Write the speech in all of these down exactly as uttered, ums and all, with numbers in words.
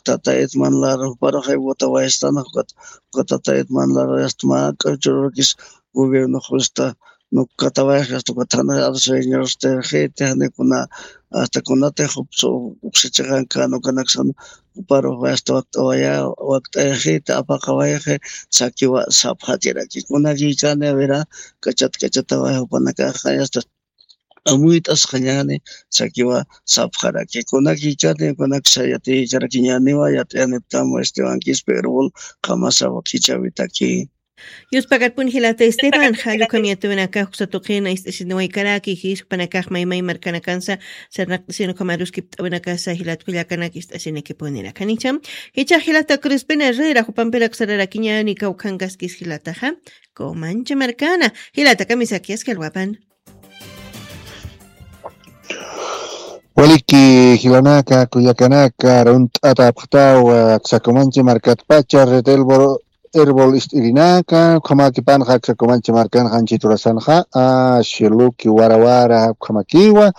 Tata Edman Lara juparuxay votawayastan, jukat Tata Edman Lara yasta mä k'uchururkis gobierno justa nukatawayxi, hasta ukat jana arsueñosti, jiti jani kuna hasta kunatix jupsu uksachixankan ukanaksan juparuxay hasta wakt'awaya, wakt'ayxiti apaqawayxi, sakiwa sapxatiraki kunakikani, avera k'achat k'achataway jupanakaxa hasta amuyt'asqañani, sakiwa sapxaraki kunakikani, kunaksa yatiykarakiñaniwa, yat'ayaniptam Esteban Quispe Erbol, qamasa wakichawitaki. Yuspagarpun jilata Esteban, jallukam yatuwinaka juksa tuqina ist'asiniwaykaraki, jispanakax maymay markanakansa sarnaqt'asini ukhamaruskipt'awinakasa jilat kullakanaka ist'asinikipuniraka nicham. Jichha jilata Crispina Herrera jupampirak sararakiñani kawkhankaskis jilataxa Comanche markana. Jilata kamisaki aski alwapan. Waliki jilanaka kullakanaka, runt'ata apxtawa aksa Comanche markatpacha red Erbol, Erbol ist'irinaka, ukhamakipanxa aksa Comanche markan janchiturasanxa, a, shiluki warawara ukhamakiwa,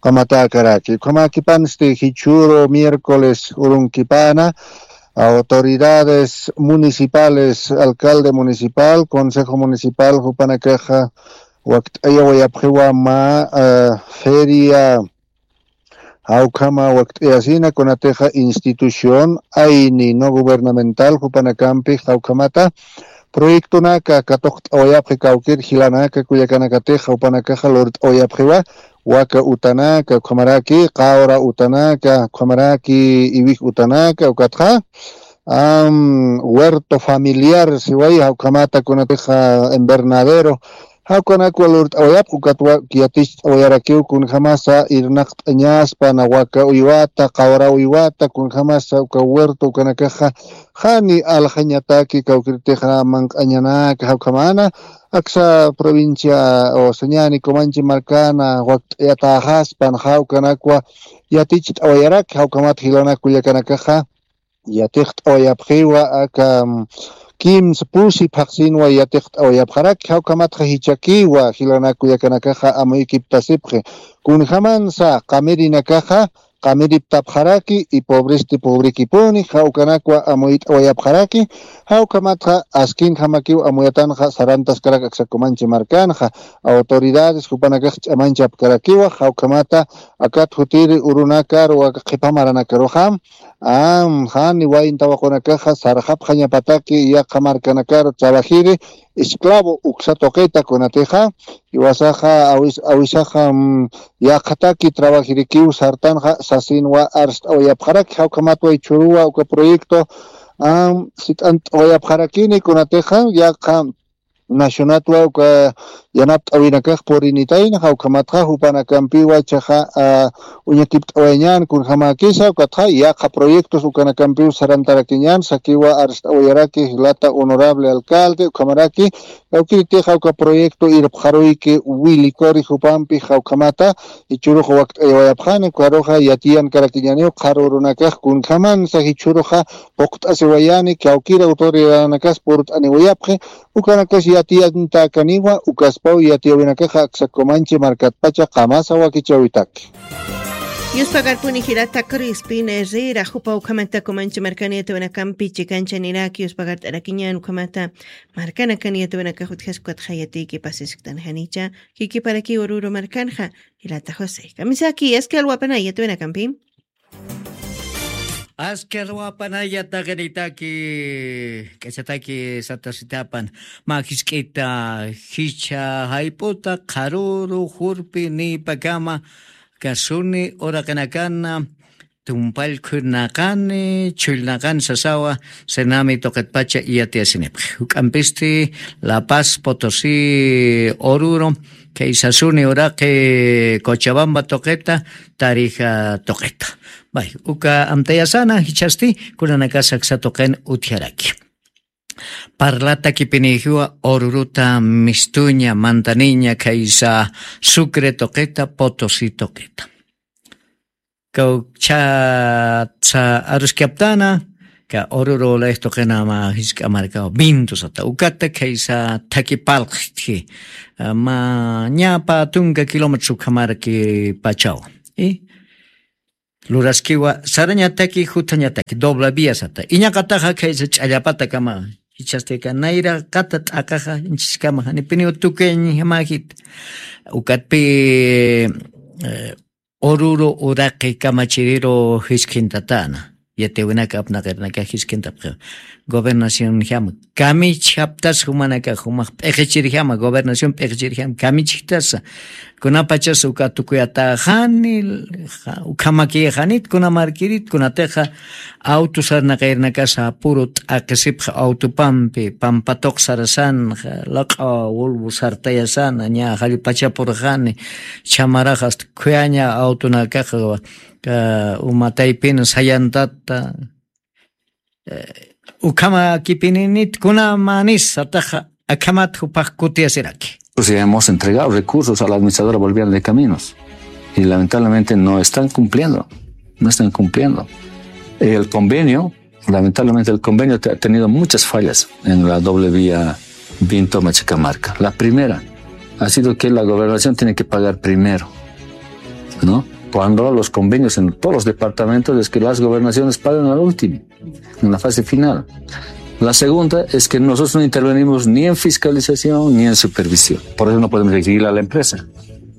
ukhamatäkaraki ukhamakipansti jichhüru miércoles urunkipana autoridades municipales, alcalde municipal, consejo municipal jupanakaxa wakt'ayawayapxiwa mä, eh, feria, jawkhama wakt'ayasina kunatixa institución ayni no gubernamental jupanakampi jawkhamata proyectonaka katuqt'awayapxi kawkir jilanaka kullakanakatix jupanakaxa lurt'awayapxiwa waka utanaka ukhamaraki qawra utanaka ukhamaraki iwij utanaka ukatxa am, huerto familiar siway, jawkhamata kunatixa invernadero, jawkanakwa lurt'awayapxi ukatwa yaticht'awayarakiw kunjamasa irnaqt'añaspa na waka uywata qawra uywata kunjamasa uka huerto ukanakaxa jani aljañataki kawkirtixa manq'añanaka jawkhamana aksa provincia o sañani Comanche markana wakt'ayatäxaspan jawkanakwa yaticht'awayaraki jawkhamat jilanak kullakanakaxa yatiqt'awayapxiwa aka, mm, kimsa pusi phaqsinwa yatiqt'awayapxaraki jawkhamatxa jichakiwa jilanak kullakanakaxa amuykiptasipxi kunjamansa qamirinakaxa qamiriptapxaraki y pobresti pobrekipuni jawkanakwa amuyt'awayapxaraki jawkhamatxa askinjamakiw amuyatanxa sarantaskarak aksa Comanche markanxa autoridades jupanakax ch'amanchapkarakiwa jawkhamata akat jutiri urunakaru waka qhipa maranakaruxa am, jani wayn tawaqunakaxa sarxapxañapataki yaqha markanakaru trabajiri esclavo uksa tuqita kunatixa jiwasaxa awis awisaxa, mm, yaqhataki trabajirikiw sartanxa sasinwa arst'awayapxaraki jawkhamatwa jichhüruwa uka proyecto am, sit'ant'awayapxarakini kunatixa yaqha nacionatwa uka yanapt'awinakax purinitayna jawkhamatxa jupanakampiwa chaxa, a, uñakipt'awayañän kunjamäkisa ukatxa yaqha proyectos ukanakampiw sarantarakiñän sakiwa arst'awayaraki jilata honorable alcalde ukhamaraki kawkiritixa uka proyecto irpxaruyki wilikuri jupampi jawkhamata jichhürux wakt'ayawayapxani ukaruxa yatiyankarakiñaniw qharürunakax kunjamansa jichhüruxa puqt'asiwayani kawkir autoridadanakas purt'aniwayapxi ukanakas yatiyantäkaniwa ukaspaw yatiyäwinakaxa aksa Comanche markatpacha qamasa wakichäwitaki. Yuspagarpuni jilata Crispina Herrera jupa ukhamata Comanche markana yatiyäwinakampi chikanchañaniraki yuspagart'arakiñän ukhamata markanakan yatiyäwinakax utjaskatxa yatiykipasisktan janicha jikiparakiw Oruro markanxa jilata José kamisaki aski alwapanay yatiyäwinakampi. Aski alwapanaya taqinitaki k'achataki satasitapan mä jisk'ita jichha jayp'uta qharüru jurpi niypakama kasuni uraqinakana tumpallkhunaqani chhullnaqani sasawa senami tuqitpacha iyatiyasinipxi juk'ampisti La Paz, Potosí, Oruro, kay sasuni uraqi Cochabamba tuqita, Tarija tuqita. Bay uka amtayasana jichhasti kunanakas aksa tuqin utjaraki. Parlatakipinijiwa Oruruta, Mistuña, Mantaniña, khaysa Sucre tuqita, Potosí tuqita. Kawkchatsa aruskaptana ka Oruro layx tuqinama jisk'a markawa Vinto sata ukata khaysa thaki palqtji, ma ñapa tunka kilómetros ukhamaraki pachawa. Y Luraskiwa sarañataki, juthañataki, doble vía sata. Iñaqataxa khaysa ch'allapatakama. Jichhastika nayraqata t'aqaxa, inchiskama, janipiniw tukuyañjamajit. Ukatpi, eh, Oruro uraqi kamachiriru jiskintatana. Yatiwinaka apnaqirnaka jiskintapxi. Gobernación jama. Kamichhaptas jumanaka, jumax p'iqichirjama, gobernación p'iqichirjama, kamichjtasa. Kunapachas uka tukuyataxani, ja-, ukhamakixanit, kunamarkirit, kunatixa auto sarnaqirnakasa apuru t'aqisipxa autopampi, pampatoq sarasanxa, laq'a wulwu sartayasana, ña jallpachapurxani, chhamaraxa hasta khuyaña autonakaxa, ka, umataypin sayantata, eh, ukhama kipininit kunamanis sataxa akhamat jupax kutiyasiraki. Pues ya hemos entregado recursos a la administradora boliviana de caminos y lamentablemente no están cumpliendo, no están cumpliendo. El convenio, lamentablemente el convenio te-, ha tenido muchas fallas en la doble vía Vinto Machacamarca. La primera ha sido que la gobernación tiene que pagar primero, ¿no? Cuando los convenios en todos los departamentos es que las gobernaciones pagan al último, en la fase final. La segunda es que nosotros no intervenimos ni en fiscalización ni en supervisión. Por eso no podemos exigirle a la empresa.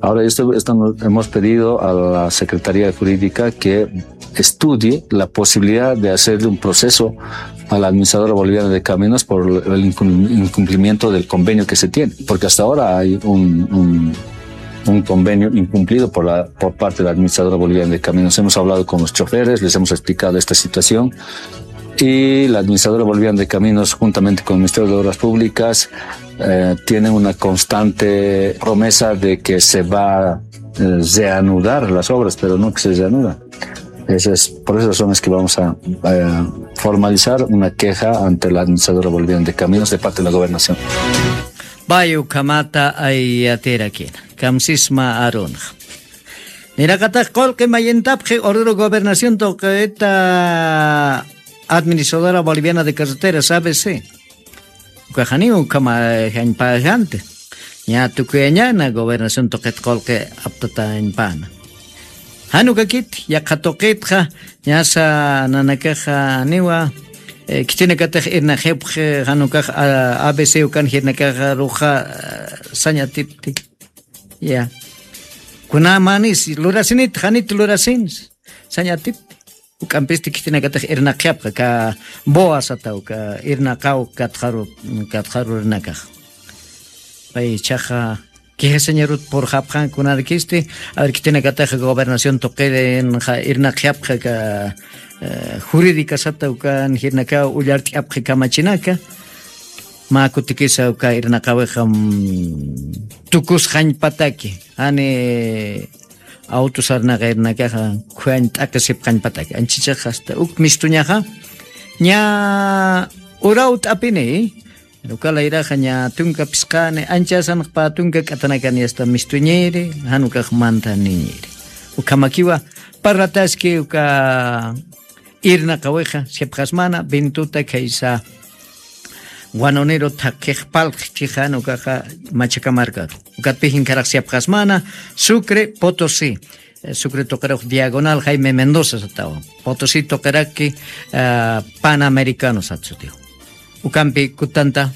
Ahora, esto, esto no-, hemos pedido a la Secretaría Jurídica que estudie la posibilidad de hacerle un proceso a la administradora boliviana de caminos por el incum-, incumplimiento del convenio que se tiene, porque hasta ahora hay un, un, un convenio incumplido por la, por parte de la administradora boliviana de caminos. Hemos hablado con los choferes, les hemos explicado esta situación y la administradora boliviana de caminos, juntamente con el Ministerio de Obras Públicas, eh, tienen una constante promesa de que se va, eh, reanudar las obras, pero no que se reanuda. Eso es, por esas razones que vamos a, eh, formalizar una queja ante la administradora boliviana de caminos de parte de la gobernación. Bayu kamata ayatirakina. Kamsisma arunxa. Niraqatax qulqi mayintapxi Oruro gobernación tuqita administradora boliviana de carreteras, A B C. Ukaxaniw ukhama jañpaxanti. Ña tukuyañana gobernación tuqit qulqi aptatañpana. Jan ukakit, yaqha tuqitxa, ñasa nanakaxa niwa, eh, khitinakatix irnaqipxi, jan ukax, ah, A B C ukan jirnakaxa ruxa, ah, sañatipti. Ya. Kunamanis, lurasinit, janit lurasinis. Sañatipti. Uk'ampisti khitinakatix irnaqyapxa, ka boa sataw, ka irnaqaw katxaru, katxaru irnakax. Pay ichaxa, quejasañarut purxapxan kunarakisti, a ver, khitinakatix gobernación tuqirinxa irnaqyapxa, ka, eh, jurídica sataw, kan jirnakaw ullart'yapxi kamachinaka. Mä kutikisa uka irnaqawixa, mm, tukusxañpataki, jani auto sarnaqirnakaxa, khuyañ t'aqisipxañpataki. Anchichaxa hasta uk mistuñaxa, ña uraw t'apini, uka layraxa ña tunka phisqani, anchasanx pä tunka k'atanakani hasta mistuñiri, jan ukax mantaniñiri. Ukhamakiwa, parlataski uka irnaqawixa, sipxasmana, Vintuta khaysa, wanuniru thaqhix palqhi chixa, jan ukaxa Machacamarcaru. Ukatpix jinkharaq sipxasmana, Sucre, Potosí. Eh, Sucre tuqirux diagonal Jaime Mendoza satawa. Potosí tuqiraki, ah, Panamericano sat sutiw. Ukampi kutanta.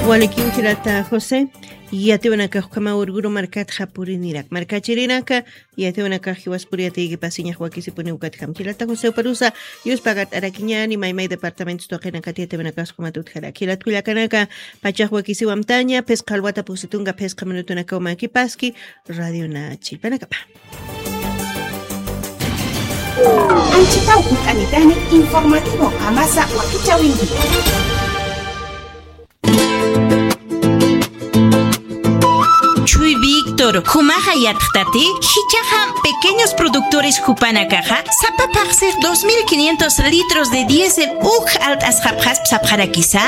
Walikiw jilata José, yatiwanakax ukhama Urguru markatxa purinirak. Markachirinaka, yatiwanakax jiwaspur yatiykipasiñax wakisipuni ukatjam. Jilata José Uparusa, yuspagart'arakiñani, maymay departamentos tuqinakat yatiwanakax ukhamat utjarak. Jilat kullakanaka, pachax wakisiw amtaña, phisqa alwata pusi tunka phisqa minutunakaw makipaski, Radio Nachipanakapa. Anchitaw kut'anitani informativo Qamasa wakichäwinki. Chuy Víctor, jumaxa yatxtati, jichhaxa pequeños productores jupanakaxa, sapa phaxsix dos mil quinientos litros de diésel uk alt'asxapxasp sapxarakisa.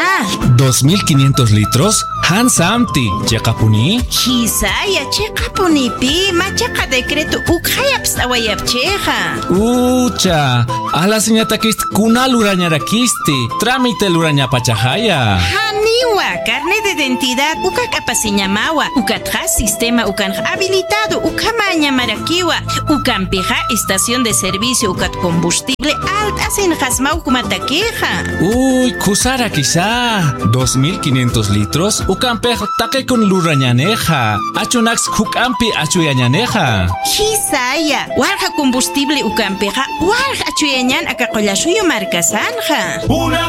¿Dos mil quinientos litros? Jan samti, ¿chiqapuni? Jisaya, chiqapunipi, machaqa decreto ukxayapst'awayapchixa. Ucha, alasiñatakist kuna lurañarakisti, trámite lurañapachaxaya. Janiwa, carnet de identidad uka k'apasiñamawa, ukatxa sistema ukanx habilitado ukhamäñamarakiwa, ukampixa estación de servicio ukat combustible alt'asinxasmaw jumatakixa. Uy, khusarakisa, dos mil quinientos litros ukampix taqikun lurañänixa, achunaks juk'ampi achuyañänixa. Jisaya, walja combustible ukampixa walja achuyañän aka Qullasuyu markasanxa.